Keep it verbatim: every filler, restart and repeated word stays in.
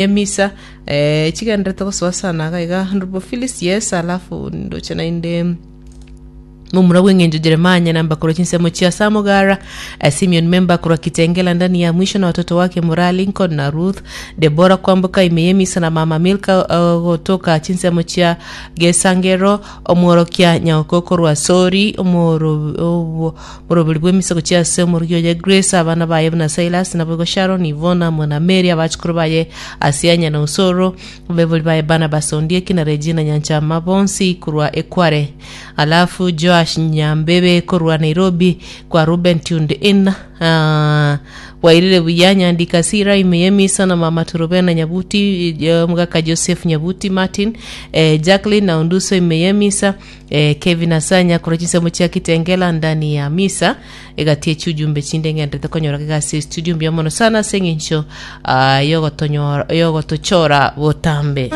Emisa eh, chigenderete gosoa sana iga iga Honorable Phyllis yes alafu ndoche naende momura bw'eng'encho Jeremiah Nyanamba korwa chinsemo chia Samugara eh, Simeon Memba korwa Kitengela ndani ya mwisho na watoto wake Mura Lincoln na Ruth Debora Kwamboka imeyemisa na mama Milka uh, gotoka chinsemo chia Gesangero omworokia Nyaoko korwa Sori omoro obo- moroberi bw'emisa gochia ase omorogi oye Grace abana baye buna Silas naboigo Sharon Ivona mwana Mary abachukuru baye Asianya na Osoro bebori baye Barnabas Ondieki na Regina Nyanchama bonsi korwa Ekware alafu Joash Nyambebe korwa Nairobi kwa Ruben tuned in uh, wairire buya nyandika sira imeyemisa na mama Turubena Nyabuti eh, mugaka Joseph Nyabuti Martin eh, Jacqueline na Unduso imeyemisa eh, Kevin Asanya korwa chinsemo chia Kitengela ndani ya misa egatie chiujumbe chinde ng'endete konyora gigasi studio mbuya mono sana ase eng'encho ah, yogotonyora yogotochora botambe.